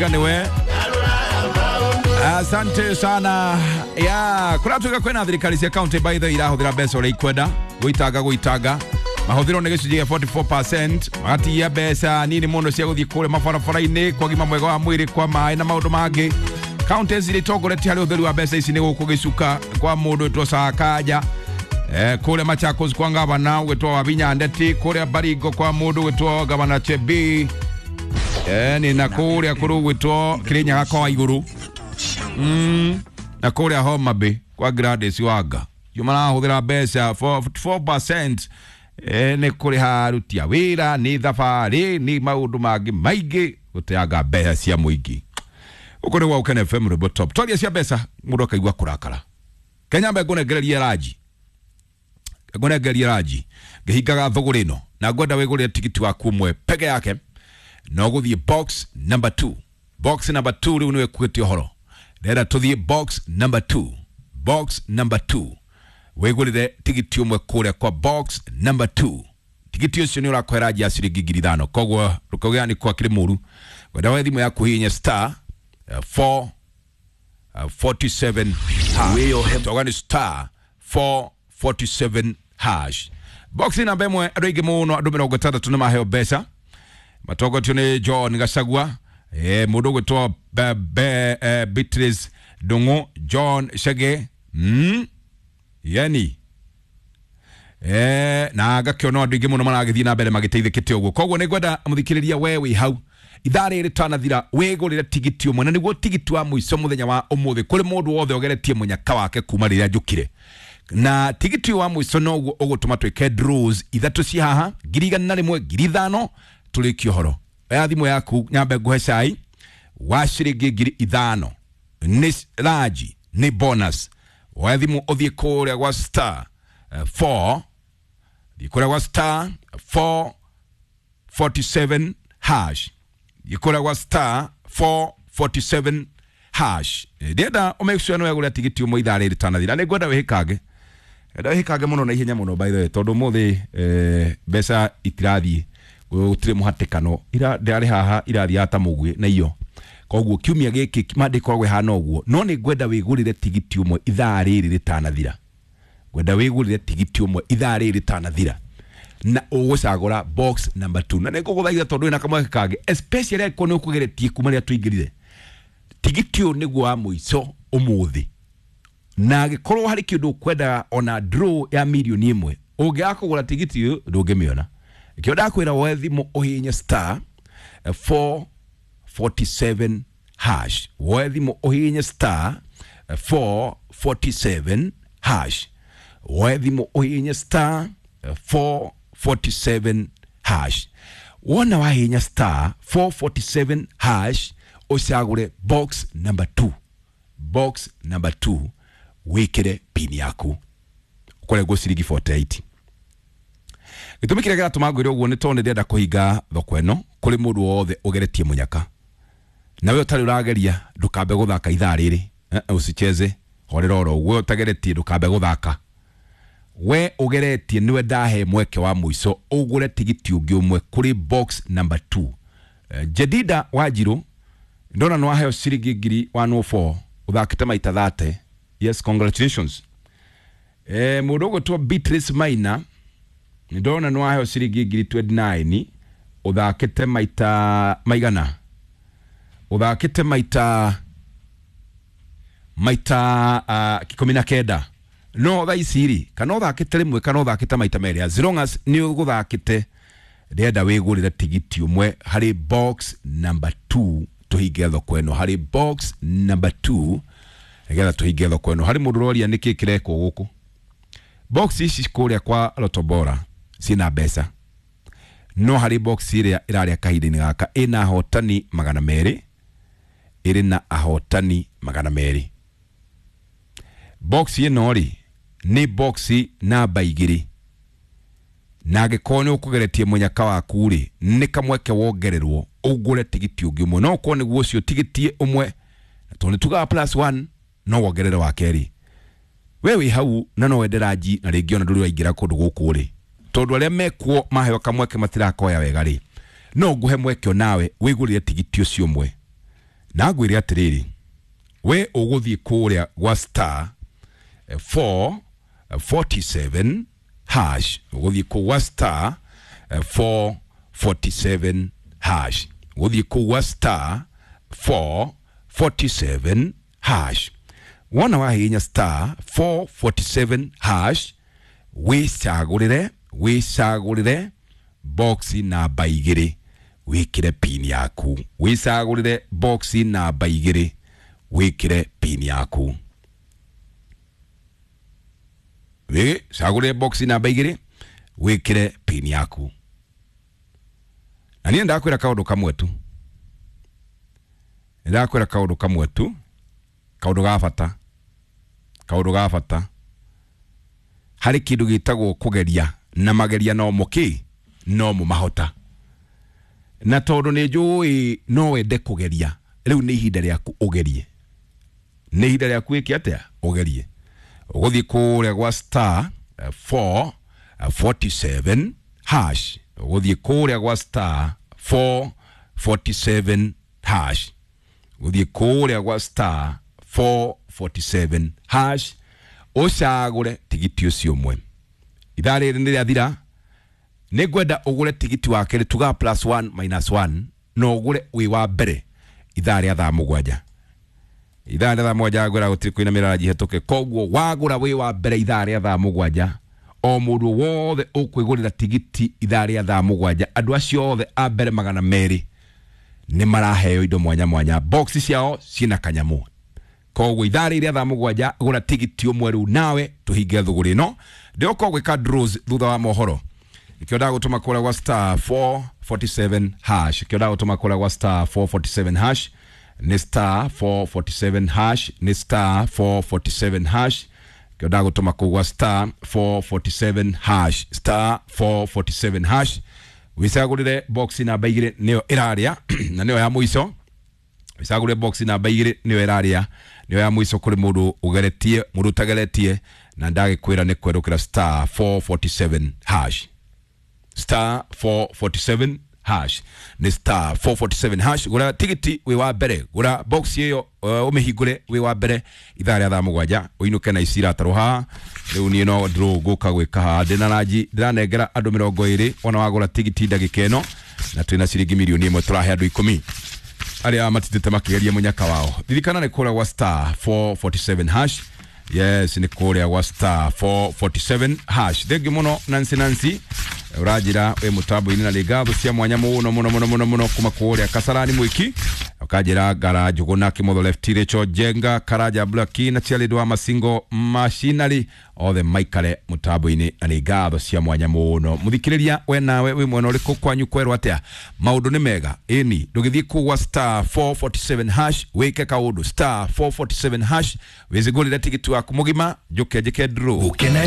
Niwe. Asante sana ya kuratuika kwina thirikari cia county by the irahuthira mbeca uria ikwenda gwitanga gwitanga mahuthiro ni gicunjĩ gĩa 44% magatigia mbeca nini muno cia guthii kuria mabarabara-inĩ kwa gima mwega wa mwĩrĩ kwa maĩ na maũndũ mangĩ. Counties iria itongoretie harĩ ũtheru wa mbeca ici nĩ gũkũ gĩcuka kwa mũndũ wĩtwo Sakaja, kũrĩa Machakos kwa gavana ũgĩtwo Wavinya Ndeti, kũrĩa Baringo kwa mũndũ ũgĩtwo gavana Chebii, ni na kũrĩa kũrũ gwĩtwo Kirinyaga kwa igũrũ, na kũrĩa Homa Bay kwa Gladys Wanga yo marahũthĩra mbeca 44% nĩ kũrĩha aruti a wĩra, nĩ thabarĩ, nĩ maũndũ mangĩ maingĩ gũteanga mbeca cia mũingĩ. Gũkũ nĩ gwa Ũkene FM Rwĩmbo Top. Twaria cia mbeca mũndũ akaigua kũrakara. Kenya mbe ngũnengererie ranji, ngũnengererie ranji ngĩhingaga thũgũrĩ ĩno na ngwenda wĩgũrĩre tigiti waku ũmwe peke yake no gũthiĩ box number 2. Box number 2 rĩu nĩwe kuĩte ũhoro, ndĩrenda tũthiĩ box number 2. Box number 2 wĩgũrĩre tigiti ũmwe kũrĩa kwa box number 2. Tigiti ũcio nĩ ũrakũhe ranji ya ciringi 5,000, koguo rũkauga nĩ kwa kĩrĩ mũru. Wenda we thimũ yaku hihinya star 4 47 hash, toga nĩ star 447 hash. Box namba ĩmwe andũ aingĩ mũno, andũ 60 nĩ maheo mbeca matongotio nĩ John Gachagua, mũndũ ũgwĩtwo Beatrice Ndung'u, John Chege, yani na ngakĩona andũ aingĩ mũno maragĩthiĩ na mbere magĩteithĩkĩte ũguo. Koguo nĩ ngwenda mũthikĩrĩria we wĩ hau ithaa rĩrĩ tanathira wĩgũrĩre tigiti ũmwe, na nĩguo tigiti wa mũico mũthenya wa ũmũthĩ kũrĩ mũndũ wothe ũgeretie mũnyaka wake kuma rĩrĩa njũkire. Na tigiti wa mũico noguo ũgũtũma twĩke draws ithatũ ci haha, 101,000, 5,000, tũrĩkie ũhoro. Oya thimũ yaku nyambe ngũhe cai wa ciringi 5,000, nĩ ranji, nĩ bonus. Oya thimũ ũthiĩ kũrĩa gwa star 4, thiĩ kũrĩa gwa star 447 hash, thiĩ kũrĩa gwa star 447 hash. Ndĩrenda ũmake sure nĩ wegũrĩra tigiti ũmwe ithaa rĩrĩ tanathira. Nĩ ngwenda wĩhĩkange, enda wĩhĩkange mũno na ihenya mũno by the way, tondũ ũmũthĩ mbeca itirathiĩ, gũtirĩ mũhatĩkano, ira ndĩrarĩ haha irathiaga ta mũguĩ na iyo. Koguo kiumia gĩkĩ mande ĩkoragwo ĩhana ũguo, no nĩ ngwenda wĩgũrĩre tigiti ũmwe ithaa rĩrĩ rĩtanathira. Ngwenda wĩgũrĩre tigiti ũmwe ithaa rĩrĩ rĩtanathira na ũgũcagũra box number 2. Na nĩ ngũgũthaitha tondũ wĩna kamweke kangĩ, especially angĩkorwo nĩ ũkũgeretie kuma rĩrĩa tũingĩrire, tigiti ũyũ nĩguo wa mũico ũmũthĩ, na angĩkorwo harĩ kĩndũ ũkwendaga ona draw ya 1,000,000 ũngĩaga kũgũra tigiti ũyũ ndũngĩmĩona. Kĩo ndakwĩra woe thimũ ũhihinye star 447 hash, woe thimũ ũhihinye star 447 hash, woe thimũ ũhihinye star 447 hash. Wona wahihinya star 447 hash ũcagũre box number 2, box number 2 wĩkĩre pin yaku ũkorengwo ciringi 48. Gĩtũmi kĩrĩa kĩratũma ngwĩre ũguo nĩ tondũ nĩ ndĩrenda kũhinga thoko ĩno kũrĩ mũndũ wothe ũgeretie mũnyaka. Na we ũtarĩ ũrageria ndũkambe gũthaka ithaa rĩrĩ, usicheze, horera oro ũguo. We ũtageretie ndũkambe gũthaka, we ũgeretie nĩwe ndahe mweke wa mũico ũgũre tigiti ũngĩ ũmwe kũrĩ box number 2. Jedida Wanjiru ndona nĩ waheo ciringi 104,000 ũthakĩte maita 30. Yes, congratulations. Mũndũ ũgwĩtwo Beatrice Maina ndona nĩ waheo ciringi 29,000 ũthakĩte maita maigana, ũthakĩte maita 19. No thaa ici rĩ, kana ũthakĩte rĩmwe kana ũthakĩte maita merĩ, as long as nĩ ũgũthakĩte, ndĩrenda wĩgũrĩre tigiti ũmwe harĩ box number 2 tũhinge thoko ĩno, harĩ box number 2 nĩgetha tũhinge thoko ĩno. Harĩ mũndũ ũroria nĩkĩ kĩrekwo gũkũ. Box ici kũrĩa kwa Lotto Bora ciĩna mbeca, no harĩ box ĩrĩa ĩrarĩa kahinda-inĩ gaka ĩna ahotani 200, ĩrĩ na ahotani 200. Box ĩno rĩ nĩ box namba 2, na angĩkorwo nĩ ũkũgeretie mũnyaka waku rĩ, nĩ kamweke wongererwo ũgũre tigiti ũngĩ ũmwe, no ũkorwo nĩguo ũcio tigiti ũmwe, na tondũ nĩ tugaga plus 1 no wongerere wa kerĩ. We wĩ hau na no wende ranji, na rĩngĩ ona ndũrĩ waingĩra kũndũ gũkũ rĩ, tondũ arĩa mekuo maheo kamweke matirakoya wega rĩ, no ngũhe mweke onawe wĩgũrĩre tigiti ũcio ũmwe. Na ngwĩre atĩrĩrĩ, we ũgũthiĩ kũrĩa gwa star 447 hash, ũgũthiĩ kũu gwa star 447 hash, ũgũthiĩ kũu gwa star 447 hash. Wona wahihinya star 447 hash, wĩcagũrĩre box namba 2, wĩkĩre pin yaku. Wĩcagũrĩre box namba 2, wĩkĩre pin yaku. Wĩcagũrĩre box namba 2, wĩkĩre pin yaku. Na niĩ ndakwĩra kaũndũ kamwe tu, ndakwĩra kaũndũ kamwe tu, kaũndũ ga bata, kaũndũ ga bata harĩ kĩndũ gĩtagwo kũgeria, na mageria no mũkĩ no mũmahota. Na tondũ nĩ njũĩ no wende kũgeria, rĩu nĩ ihinda rĩaku ũgerie, nĩ ihinda rĩaku wĩke atĩa, ũgerie. Ũgũthiĩ kũrĩa gwa star 447 hash, ũgũthiĩ kũrĩa gwa star 447 hash, ũgũthiĩ kũrĩa gwa star 447 hash, ũcagũre tigiti ũcio ũmwe. Ithaa rĩrĩ nĩ rĩathira, nĩ ngwenda ũgũre tigiti wa kerĩ, tuga plus 1 minus 1, na ũgũre wĩ wa mbere ithaa rĩa thaa 7. Ithaa rĩa thaa 7 ngwĩra gũtirĩ kũinamĩrĩra ranji hetũke, koguo wagũra wĩ wa mbere ithaa rĩa thaa 7, o mũndũ wothe ũkwĩgũrĩra tigiti ithaa rĩa thaa 7, andũ acio othe a mbere 200 nĩ maraheo indo mwanya mwanya, box ciao ciĩna kanyamũ. Koguo ithaa rĩrĩ rĩa thaa 7 gũra tigiti ũmwe rĩu nawe tũhinge thũgũrĩ ĩno. Ndĩroka gwĩka draws thutha wa mohoro. Ikĩo ndagũtũma kũrĩa gwa star 447 hash, ikĩo ndagũtũma kũrĩa gwa star 447 hash, nĩ star 447 hash, nĩ star 447 hash. Ikĩo ndagũtũma kũu gwa star 447 hash, star 447 hash, wĩcagũrĩre box namba 2 nĩyo ĩrarĩa na nĩyo ya mũico. Wĩcagũrĩre box namba 2 nĩyo ĩrarĩa, nĩyo ya mũico kũrĩ mũndũ ũgeretie, mũndũ ũtageretie, na ndagĩkwĩra nĩ kwerũkĩra star 447 hash, star 447 hash, nĩ star 447 hash. Gũra tigiti wĩ wa mbere, gũra box ĩyo ũmĩhingũre wĩ wa mbere ithaa rĩa thaa 7, ũinũke na ici iratarwo haha. Rĩu niĩ no draw ngũka gwĩka haha, ndĩna ranji ndĩranengera andũ 20 ona wagũra tigiti ndagĩka ĩno, na twĩna ciringi mirioni 1 tũrahe andũ 10 arĩa matitĩte makĩgeria mũnyaka wao. Ririkana nĩ kũrĩa gwa star 447 hash. Yes, nĩ kũrĩa gwa star 447 hash. Thengiũ mũno Nancy. Nancy ũranjĩra wĩ mũtambo-inĩ na nĩ ngatho cia mwanya mũno mũno mũno mũno mũno kuma kũrĩa Kasarani Mwiki. Ũkanjĩra Ngara Njũgũna Kĩmotho Left Rachel Jenga Karanja Blaki na Chialid wa Masingo Machinery othe maikare mũtambo-inĩ na nĩ ngatho cia mwanya mũno. Mũthikĩrĩria we nawe wĩ mwena ũrĩkũ, kwanyu kwerwo atĩa? Maũndũ nĩ mega ĩni, ndũgĩthiĩ kũu gwa star 447 hash wĩke kaũndũ, star 447 hash wĩcigũrĩre tigiti waku mũgima, njũke njĩke draw. Gũkena.